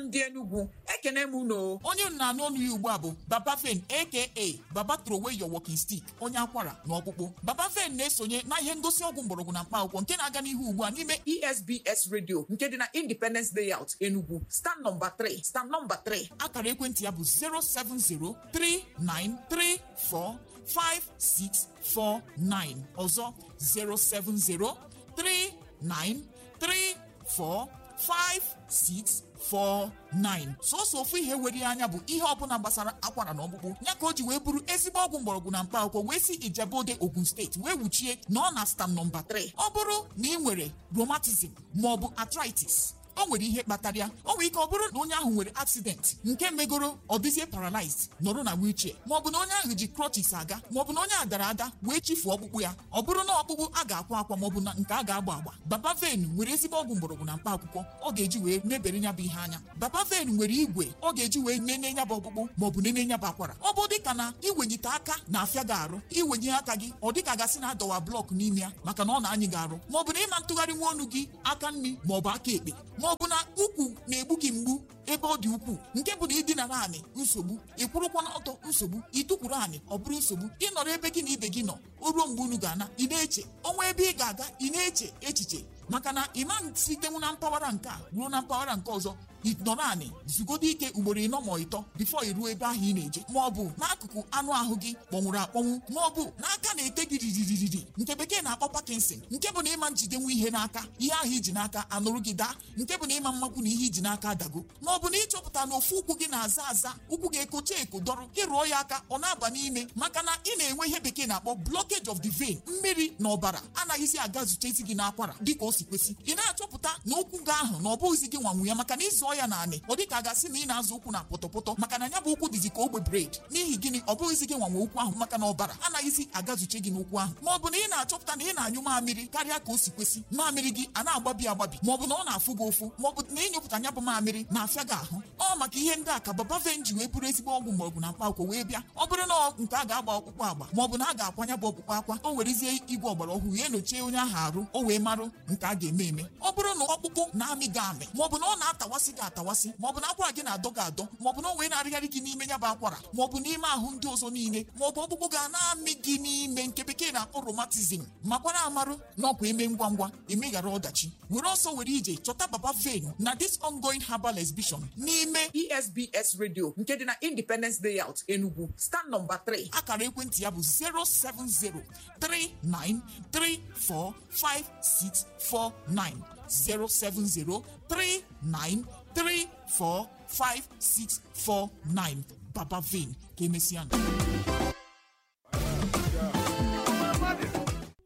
Ndị Enugu, ekene m unu. Onye m na-anụ ọnụ ya ugbu a bụ Baba Fen, aka Baba Throwaway Your Walking Stick, onye akwara na ọkpụkpụ. Baba Fen na-esonye na ihe ngosi ọgwụ mgbọrọgwụ na mkpa akwụkwọ nke na-aga n'ihu ugbu a n'ime E S B S Radio nke dị na Independence Layout, Enugu, stand nọmba three, stand nọmba three. Akara ekwentị ya bụ zero seven zero three nine three four five six four nine. Ọzọ, zero seven zero three nine three four five six four nine. Sọsọ ofu ihe were ya anya bụ ihe ọbụla gbasara akwara na ọkpụkpụ ya ka o ji wee bụrụ ezigbo ọgwụ mgbọrọgwụ na mkpa akwụkwọ wee si Ijebode, Ogun Steeti wee wuchie na ọ na stam nọmba atọ. Ọ bụrụ na ị nwere rheumatism ma ọ bụ arthritis, o nwere ihe kpatara ya. O nwere ike ọ bụrụ na onye ahụ nwere accident nke megoro ọ dịzie paralyzed, nọrọ na wheelchair, maọbụ na onye ahụ ji crutches aga, maọbụ na onye a dara ada wee chifuo ọkpụkpụ ya. Ọ bụrụ na ọkpụkpụ a ga-akwa akwa maọbụ na nke a ga-agba agba, Baba Ven nwere ezigbo ọgwụ mgbọrọgwụ na mkpa akwụkwọ ọ ga-eji wee mebere ya bụ ihe anya. Baba Ven nwere igwe ọ ga-eji wee nene ya bụ ọkpụkpụ maọbụ nene ya bụ akwara. Ọ bụ dịka na iwenyite aka na-afịa gị arụ, iwenye aka gị ọ dịka gasị na adọwa blọk n'ime ya maka na ọ na-anyị gị arụ, maọbụ na ịma ntụgharị nwa ọnụ gị aka nri maọbụ aka ekpe, maọbụ na ukwu na-egbu gị mgbu ebe ọ dị ukwuu nke bụ na ịdinara anị nsogbu, ịkwụrụkwa n'ọtọ nsogbu, ịtụkwuru anị ọ bụrụ nsogbu, ịnọrọ ebe gị na ibe gị nọ o ruo mgbe unu ga-ana ị na-eche ọnwa ebe ị ga-aga, ị na-eche echiche maka na ịma sitenwu na mpaghara nke a ruo na mpaghara nke ọzọ. Ịnọrọ anị zugodo ike ugboro ịnọ ma ịtọ bifo i ruo ebe ahụ ị na-eje, ma ọ bụ n'akụkụ anụ ahụ gị kpọnwụrụ akpọnwụ, ma ọ bụ n'aka na-ete gị riririririri nke bekee na-akpọ Parkinson, nke bụ na ịma njidenwu ihe n'aka, ihe ahụ iji n'aka anụrụ gị daa, nke bụ na ịma mmakwu na ihe iji n'aka adago, ma ọ bụ na ịchọpụta na ofu ụkwụ gị na-aza aza, ụkwụ gị ekocha eko dọrọ, ịrụọ ya aka ọ na-aba n'ime maka na ị na-enwe ihe bekee na-akpọ blockage of the vein, mmiri na ọbara anaghịzi aga zutezi gị n'akwara dịka o si kwesị. Ị na-achọpụta na ụkwụ gị ahụ na ọ bụghịzi gị nwanwu ya maka na ịzụọ ya naanị ọ dịka a ga-asị na ị na-azụ ụkwụ na pọtọpọtọ maka na ya bụ ụkwụ dịzi ka ogbe bred. N'ihi gịnị? Ọ bụghịzi gị nwanwe ụkwụ ahụ maka na ọbara anaghịzi agazuche gị n'ụkwụ ahụ. Ma ọ bụ na ị na-achọpụta na ị na-anyụ mamịrị karịa ka o si kwesị, mamịrị gị a na-agbabi agbabi, ma ọ bụ na ọ na-afụ gị ụfụ, ma ọ bụ na ịnyụpụta ya bụ mamịrị na-afịa gị ahụ. Ọ maka ihe ndị a ka Baba Ven ji wee bụrụ ezigbo ọgwụ mgbọrọgwụ na mkpa akwụkwọ wee bịa. Ọ bụrụ na nke a ga-agba ọkpụkpụ agba ma ọ bụ na a ga-akwanya bụ ọkpụkpụ akwa, o werezie igwe ọgbara ọhụrụ ya enyochie onye ahụ arụ o wee marụ nke a ga-eme eme. Ọ bụrụ na ọkpụkpụ na-amị gị amị, ma ọ bụ na ọ na-atawasị gị atawasị, ma ọ bụ na akwara gị na-adọ gị adọ, ma ọ bụ na o wee na-arịgharị gị n'ime ya bụ akwara, ma ọ bụ n'ime ahụ ndị ọzọ niile, ma ọ bụ ọkpụkpụ ga na-amị gị n'ime nke bekee na-akpọ rheumatism, makwara amarụ na ọkwa eme ngwa ngwa emeghara ọdachi. Were ọsọ were ije chọta Baba Ven na this ongoing herbal exhibition n'ime E S B S Radio nke dị na Independence Layout, Enugu, stand nọmba three. Akara ekwentị ya bụ zero seven zero three nine three four five six four nine, zero seven zero three nine three four five six four nine. Baba Ven, ka emesịa.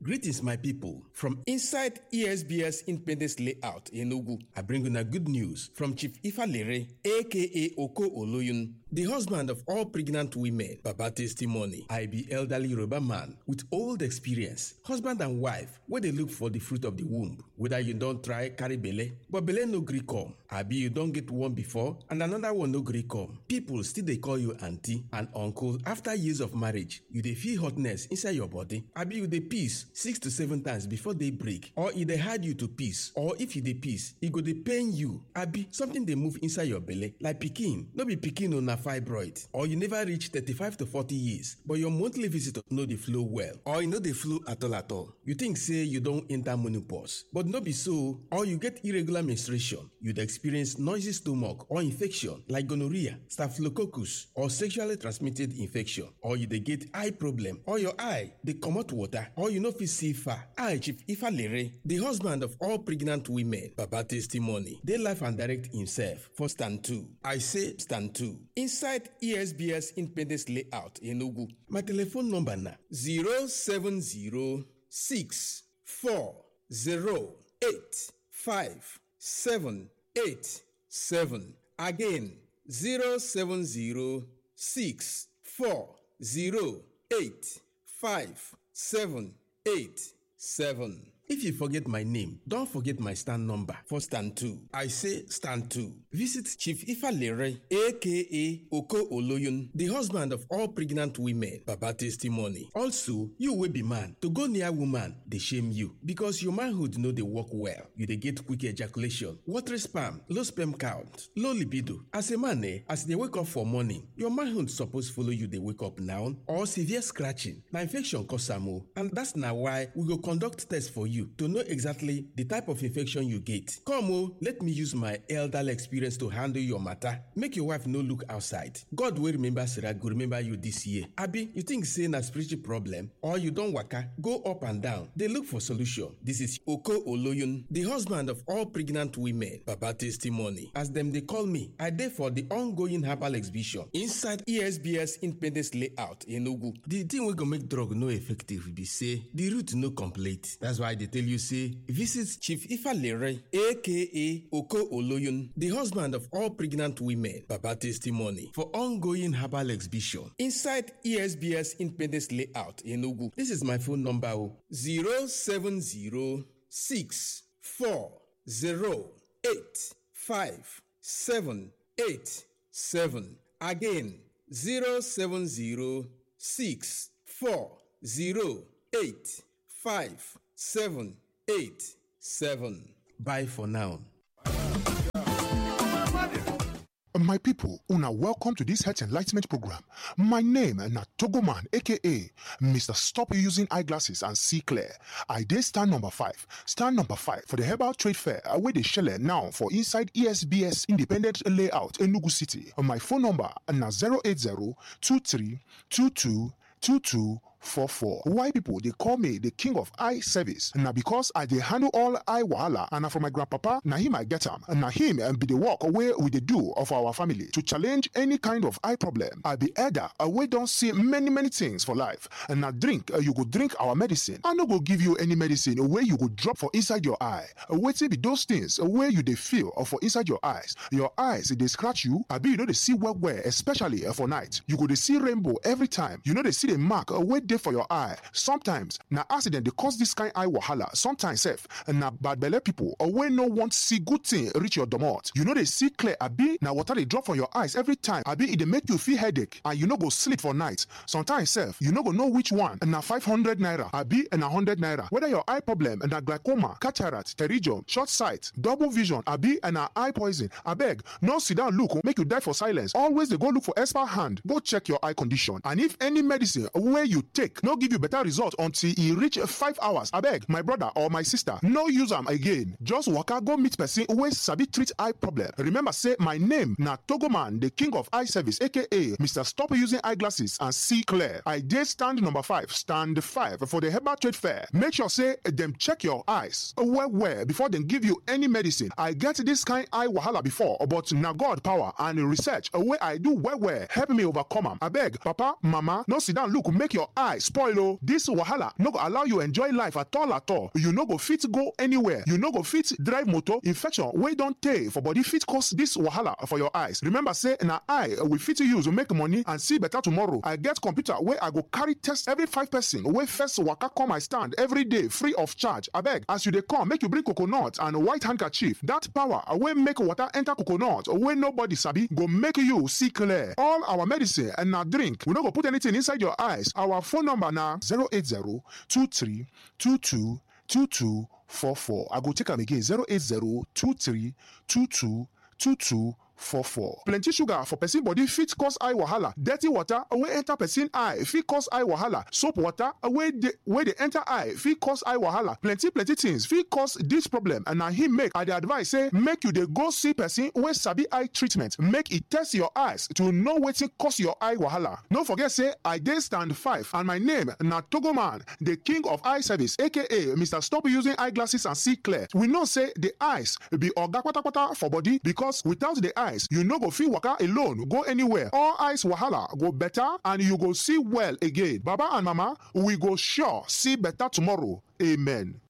Greetings, my people. From inside E S B S Independence Layout in Enugu, I bring you a good news from Chief Ifalere, aka Oko Oloyun, the husband of all pregnant women. Baba testimony. I be elderly Yoruba man with old experience, husband and wife, where they look for the fruit of the womb. Whether you don't try carry belle, but belle no gree come. Abi you don't get one before and another one no gree come. People still they call you auntie and uncle after years of marriage. You dey feel hotness inside your body. Abi you dey peace six to seven times before they break, or e dey hard you to peace, or if you dey peace, e go dey pain you. Abi something dey move inside your belle like pikin, no be pikin o, na fibroid, or you never reach thirty-five to forty years, but your monthly visitor no dey flow well, or e no dey flow at all at all. You think say you don enter menopause, but no be so, or you get irregular menstruation, you dey experience noisy stomach or infection like gonorrhea, staphylococcus, or sexually transmitted infection, or you dey get eye problem, or your eye dey comot water, or you no fit see far. I, Chief Ifalere, the husband of all pregnant women, Baba testimony, dey life and direct himself for stand two. I say stand two. Inside E S B S Independence Layout, Enugu. My telephone number na zero seven zero six four zero eight five seven eight seven. Again, zero seven zero six four zero eight five seven eight seven. If you forget my name, don't forget my stand number for stand two. I say stand two. Visit Chief Ifalere, aka Oko Oloyun, the husband of all pregnant women. Baba testimony. Also, you will be man. To go near woman, they shame you because your manhood know they work well. You dey get quick ejaculation, watery sperm, low sperm count, low libido. As a man, eh, as they wake up for morning, your manhood suppose follow you. They wake up now or severe scratching. Now infection cause am o, and that's now why we go conduct test for you. you to know exactly the type of infection you get. Come o, let me use my elderly experience to handle your matter. Make your wife no look outside. God wey remember Sarah go remember you this year. Abi, you think say na spiritual problem or you don waka go up and down dey look for solution? This is Oko Oloyun, the husband of all pregnant women. Baba testimony. As dem dey call me, I dey for the ongoing herbal exhibition inside E S B S Independence Layout, Enugu. The thing wey go make drug no effective be say the root no complete. That's why I dey tell you say visit Chief Ifalere, aka Oko Oloyun, the husband of all pregnant women. Baba testimony for ongoing herbal exhibition inside E S B S Independence Layout, Enugu. This is my phone number zero seven zero six four zero eight five seven eight seven. Again, zero seven zero six four zero eight five seven eight seven. Bye for now. My people, una welcome to this health enlightenment program. My name na Togoman, aka Mister Stop Using Eyeglasses and See Clear. I dey stand number five. Stand number five for the Herbal Trade Fair wey dey shele now for inside E S B S Independent Layout, Enugu City. My phone number na zero eight zero two three two two two two four four. Why people they call me the king of eye service? Now because I dey handle all eye wahala, and na from my grandpapa, na him I get am. Na him and be the work where we dey do of our family to challenge any kind of eye problem. I be elder, we don't see many many things for life. And now drink, you go drink our medicine. I no go give you any medicine where you go drop for inside your eye. Wetin be those things where you dey feel or for inside your eyes. Your eyes they scratch you. I be you know they see well well, especially for night. You go dey see rainbow every time. You know they see the mark where dey for your eye. Sometimes na accident dey cause this kind eye wahala. Sometimes sef na bad belle people or wey no want see good thing reach your domot. You no dey see clear abi na water dey drop from your eyes every time. Abi e dey make you feel headache and you no go sleep for night. Sometimes sef you no go know which one na five hundred naira abi na hundred naira. Whether your eye problem na glaucoma, cataract, pterygium, short sight, double vision abi na eye poison, abeg no sit down look make you die for silence. Always dey go look for expert hand go check your eye condition. And if any medicine wey you take no give you better result until e reach five hours, abeg my brother or my sister, no use am again. Just waka go meet person wey sabi treat eye problem. Remember say my name na Togoman, the king of eye service, aka Mister Stop Using Eyeglasses and See Clear. I dey stand number five, stand five for the Herbal Trade Fair. Make sure say dem check your eyes well well before dem give you any medicine. I get this kind eye wahala before, but na God power and research wey I do well well help me overcome am. Abeg papa, mama, no sit down look make your eye spoil o. This wahala no go allow you enjoy life at all at all. You no go fit go anywhere. You no go fit drive motor. Infection wey don tey for body fit cause this wahala for your eyes. Remember say na eye we fit use make money and see better tomorrow. I get computer wey I go carry test every five person wey first waka come my stand every day free of charge. Abeg as you dey come, make you bring coconut and white handkerchief. That power wey make water enter coconut wey nobody sabi go make you see clear. All our medicine and na drink. We no go put anything inside your eyes. Our phone number na zero eight zero two three two two two two four four. I go take am again zero eight zero two three two two two two four four. Plenty sugar for person body fit cause eye wahala. Dirty water wey enter person eye fit cause eye wahala. Soap water wey dey wey dey enter eye fit cause eye wahala. Plenty plenty things fit cause this problem, and na him make I dey advise say make you dey go see person wey sabi eye treatment. Make e test your eyes to know wetin cause your eye wahala. No forget say I dey stand five and my name na Togoman, the king of eye service, aka Mister Stop Using Eyeglasses and See Clear. We know say the eyes be oga kpatakpata for body, because without the eyes you no go fit waka alone go anywhere. All eyes wahala go better and you go see well again. Baba and mama, we go sure see better tomorrow. Amen.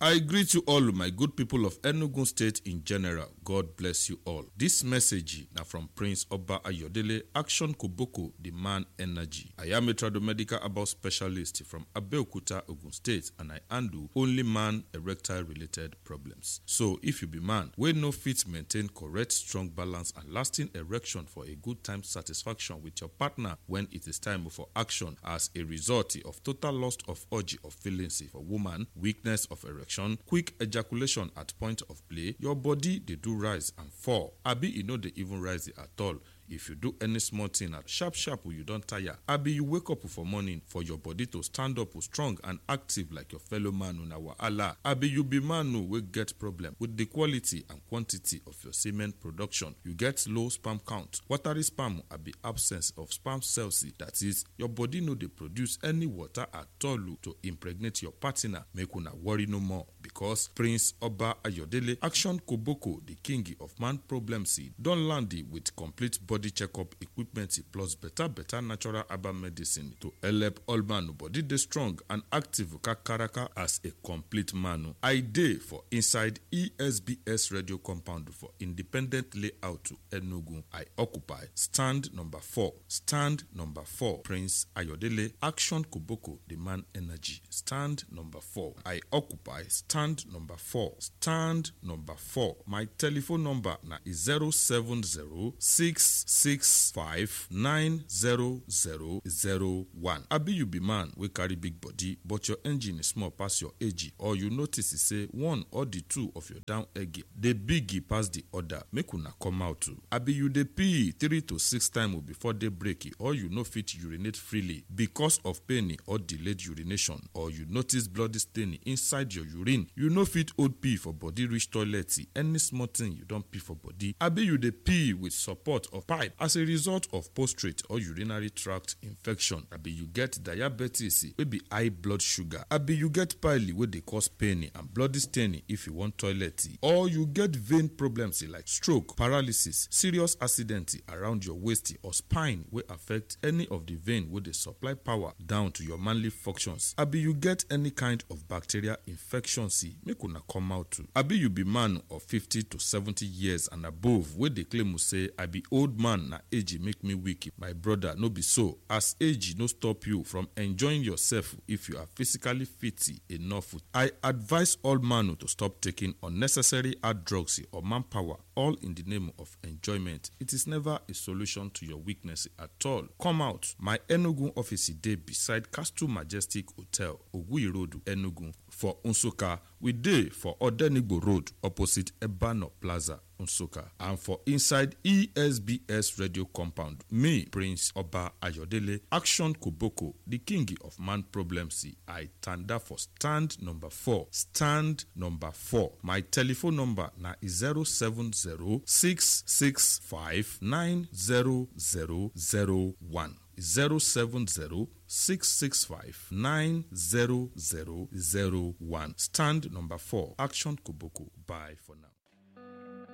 I greet you all, my good people of Enugu State in general. God bless you all. This message now from Prince Oba Ayodele, Action Koboko, the man energy. I am a tradomedical about specialist from Abeokuta, Ogun State, and I handle only man erectile related problems. So if you be man, wey no fit maintain correct, strong balance and lasting erection for a good time satisfaction with your partner when it is time for action as a result of total loss of urge of feelings for woman, weakness of erection, quick ejaculation at point of play, your body dey do rise and fall, abi e no dey even rise at all. If you do any small thing at sharp sharp you don tire. Abi you wake up for morning for your body to stand up strong and active like your fellow man una wahala. Abi you be man wey get problem with the quality and quantity of your semen production. You get low sperm count, watery sperm abi absence of sperm cells. That is, your body no dey produce any water at all to impregnate your partner. Make una worry no more, because Prince Oba Ayodele Action Koboko, the king of man problems, don land with complete body checkup equipment plus better better natural herbal medicine to help all man body dey strong and active kakaraka as a complete man. I dey for inside E S B S radio compound for Independent Layout Enugu. I occupy stand number four. Stand number four. Prince Ayodele Action Koboko, the man energy. Stand number four. I occupy stand number four. Stand number four. My telephone number na zero seven zero six six five nine zero zero zero one. Abi you be man wey carry big body, but your engine is small pass your age, or you notice say one or the two of your down egg dey big pass the other. Make una come out too. Abi you dey pee three to six times before day break, or you no fit urinate freely because of pain or delayed urination, or you notice bloody stain inside your urine. You no fit hold pee for body reach toilet. Any small thing you don pee for body. Abi you dey pee with support of pipe as a result of prostate or urinary tract infection. Abi you get diabetes wey be high blood sugar. Abi you get pile wey dey cause pain and bloody stain if you wan toilet, or you get vein problems like stroke, paralysis, serious accident around your waist or spine wey affect any of the vein wey dey supply power down to your manly functions. Abi you get any kind of bacterial infection, make una come out too. Abi you be man of fifty to seventy years and above wey dey claim say I be old man na age make me weak. My brother, no be so. As age no stop you from enjoying yourself if you are physically fit enough. I advise all man to stop taking unnecessary hard drugs or manpower, all in the name of enjoyment. It is never a solution to your weakness at all. Come out. My Enugu office dey beside Castle Majestic Hotel, Ogui Road, Enugu. For Nsukka, we dey for Odenigbo Road, opposite Ebano Plaza, Nsukka. And for inside E S B S Radio Compound, me, Prince Oba Ayodele, Action Koboko, the king of man problems, I tanda for stand number four. Stand number four. My telephone number na zero seven zero six six five nine zero zero zero one. zero seven zero six six five nine zero zero zero one. Stand number four. Action Koboko. Bye for now.